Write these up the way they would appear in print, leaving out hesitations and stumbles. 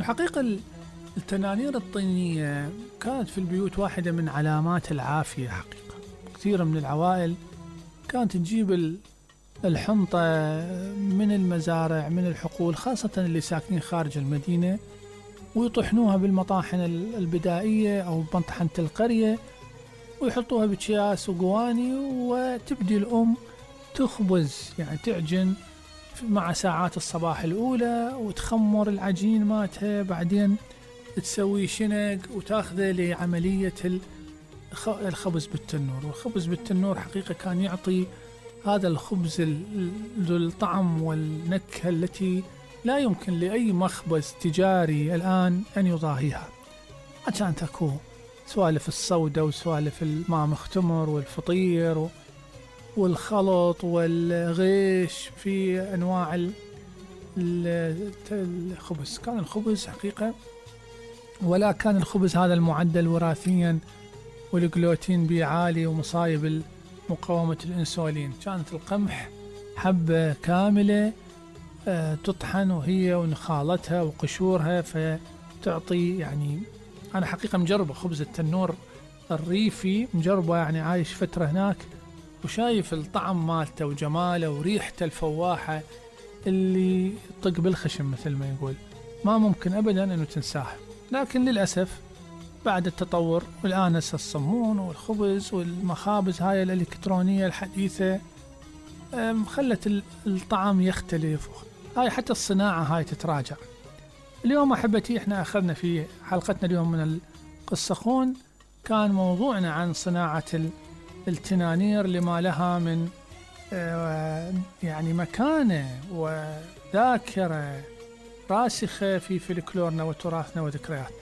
الحقيقة التنانير الطينية كانت في البيوت واحدة من علامات العافية حقيقة. كثير من العوائل كانت تجيب الحنطة من المزارع من الحقول، خاصة اللي ساكنين خارج المدينة، ويطحنوها بالمطاحن البدائية أو بمطحنة القرية، ويحطوها بأكياس وقواني، وتبدي الأم تخبز، يعني تعجن مع ساعات الصباح الأولى وتخمر العجين ماتها، بعدين تسوي شنق وتاخذه لعملية الخبز بالتنور. والخبز بالتنور حقيقة كان يعطي هذا الخبز الطعم والنكهة التي لا يمكن لأي مخبز تجاري الآن أن يضاهيها. كانت أكو سوالف الصودة وسوالف الماء مختمر والفطير والخلط والغيش في أنواع الخبز. كان الخبز حقيقة، ولا كان الخبز هذا المعدل وراثيا والجلوتين بيه عالي ومصايب مقاومة الإنسولين. كانت القمح حبة كاملة تطحن وهي ونخالتها وقشورها، فتعطي يعني أنا حقيقة مجربة خبز التنور الريفي، مجربة يعني عايش فترة هناك وشايف الطعم مالته وجماله وريحته الفواحة اللي طق بالخشم مثل ما يقول، ما ممكن أبدا أنه تنساه. لكن للأسف بعد التطور والآن الصمون والخبز والمخابز هاي الإلكترونية الحديثة خلت الطعم يختلف، هاي حتى الصناعة هاي تتراجع. اليوم أحبتي احنا أخذنا في حلقتنا اليوم من القصخون كان موضوعنا عن صناعة التنانير لما لها من يعني مكانة وذاكرة راسخة في فلكلورنا وتراثنا وذكرياتنا.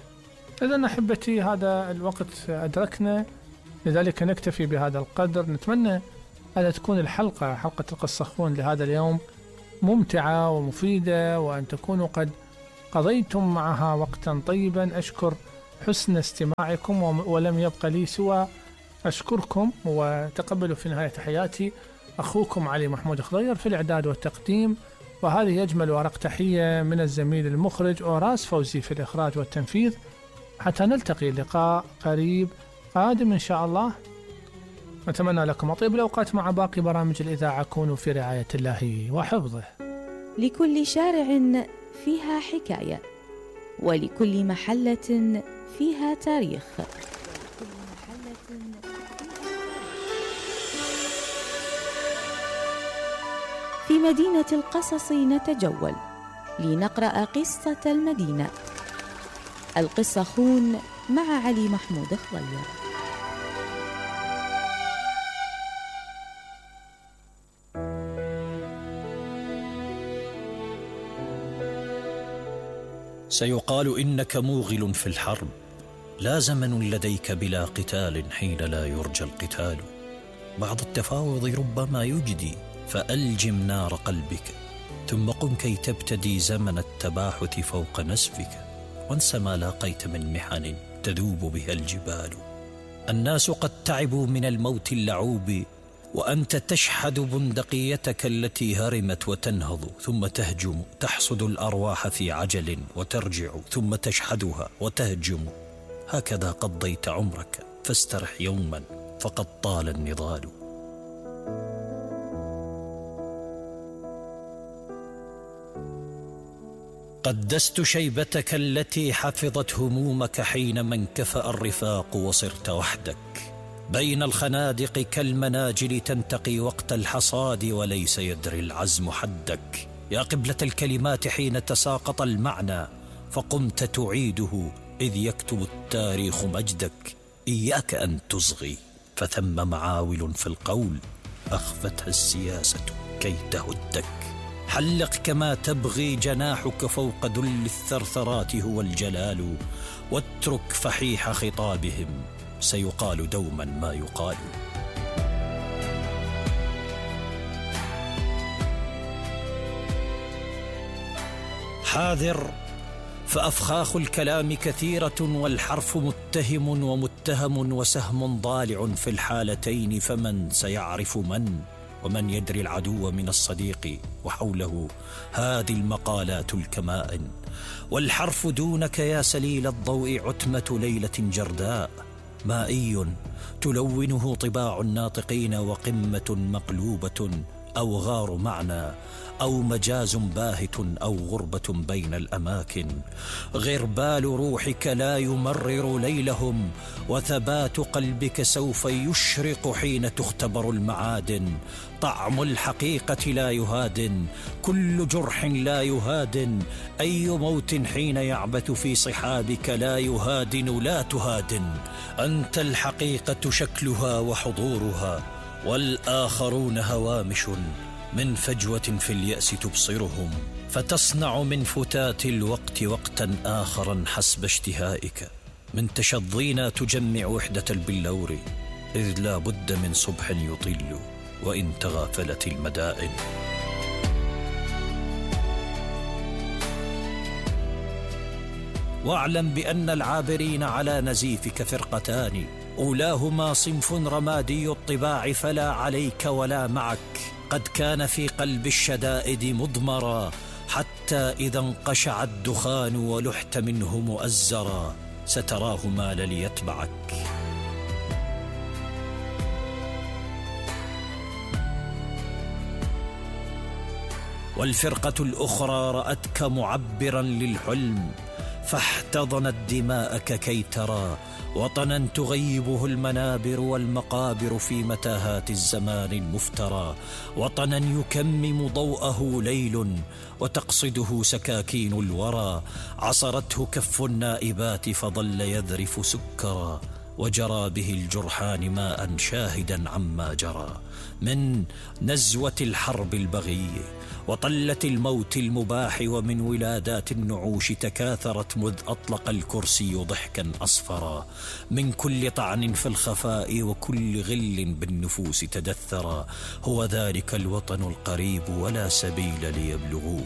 إذن أحبتي هذا الوقت أدركنا، لذلك نكتفي بهذا القدر. نتمنى أن تكون حلقة القصخون لهذا اليوم ممتعة ومفيدة، وأن تكونوا قد قضيتم معها وقتا طيبا. أشكر حسن استماعكم، ولم يبقى لي سوى أشكركم، وتقبلوا في نهاية حياتي أخوكم علي محمود خضير في الإعداد والتقديم. وهذه أجمل ورق تحية من الزميل المخرج أوراس فوزي في الإخراج والتنفيذ، حتى نلتقي لقاء قريب قادم إن شاء الله. نتمنى لكم أطيب الأوقات مع باقي برامج الإذاعة. كونوا في رعاية الله وحفظه. لكل شارع فيها حكاية، ولكل محلة فيها تاريخ. في مدينة القصص نتجول لنقرأ قصة المدينة. القصخون مع علي محمود خضير. سيقال إنك موغل في الحرب، لا زمن لديك بلا قتال حين لا يرجى القتال. بعض التفاوض ربما يجدي، فألجم نار قلبك، ثم قم كي تبتدي زمن التباحث فوق نسفك، وانس ما لاقيت من محن تذوب بها الجبال. الناس قد تعبوا من الموت اللعوب، وأنت تشحذ بندقيتك التي هرمت وتنهض، ثم تهجم تحصد الأرواح في عجل، وترجع ثم تشحذها وتهجم. هكذا قضيت عمرك، فاسترح يوما فقد طال النضال. قدست شيبتك التي حفظت همومك حينما انكفأ الرفاق وصرت وحدك بين الخنادق كالمناجل، تنتقي وقت الحصاد وليس يدري العزم حدك. يا قبلة الكلمات حين تساقط المعنى، فقمت تعيده إذ يكتب التاريخ مجدك. إياك أن تصغي، فثم معاول في القول أخفتها السياسة كي تهدك. حلق كما تبغي، جناحك فوق ذل الثرثرات هو الجلال، واترك فحيح خطابهم، سيقال دوما ما يقال. حاذر، فأفخاخ الكلام كثيرة، والحرف متهم ومتهم، وسهم ضالع في الحالتين، فمن سيعرف من؟ ومن يدري العدو من الصديق، وحوله هذه المقالات الكمائن. والحرف دونك يا سليل الضوء عتمة ليلة جرداء، مائي تلونه طباع الناطقين، وقمة مقلوبة أو غار معنى، أو مجاز باهت، أو غربة بين الأماكن. غربال روحك لا يمرر ليلهم، وثبات قلبك سوف يشرق حين تختبر المعادن. طعم الحقيقة لا يهادن، كل جرح لا يهادن، أي موت حين يعبث في صحابك لا يهادن، لا تهادن. أنت الحقيقة شكلها وحضورها، والآخرون هوامش من فجوة في اليأس تبصرهم، فتصنع من فتات الوقت وقتا آخرا حسب اشتهائك. من تشظينا تجمع وحدة البلور، إذ لا بد من صبح يطل وإن تغافلت المدائن. واعلم بأن العابرين على نزيفك فرقتان، أولاهما صنف رمادي الطباع فلا عليك ولا معك، قد كان في قلب الشدائد مضمرا، حتى إذا انقشع الدخان ولحت منه مؤزرا، ستراه مال ليتبعك. والفرقة الأخرى رأتك معبرا للحلم، فاحتضنت دماءك كي ترى وطنا تغيبه المنابر والمقابر في متاهات الزمان المفترى، وطنا يكمم ضوءه ليل وتقصده سكاكين الورى، عصرته كف النائبات فظل يذرف سكرا، وجرى به الجرحان ماء شاهدا عما جرى من نزوة الحرب البغية وطلة الموت المباح، ومن ولادات النعوش تكاثرت مذ أطلق الكرسي ضحكا أصفرا، من كل طعن في الخفاء وكل غل بالنفوس تدثرا. هو ذلك الوطن القريب ولا سبيل ليبلغوه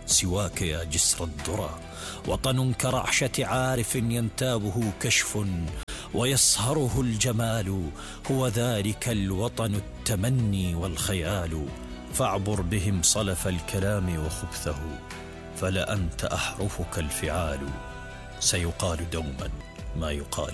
سواك يا جسر الذرى، وطن كرعشة عارف ينتابه كشف ويصهره الجمال، هو ذلك الوطن التمني والخيال. فاعبر بهم صلف الكلام وخبثه، فلأنت أحرفك الفعال، سيقال دوما ما يقال.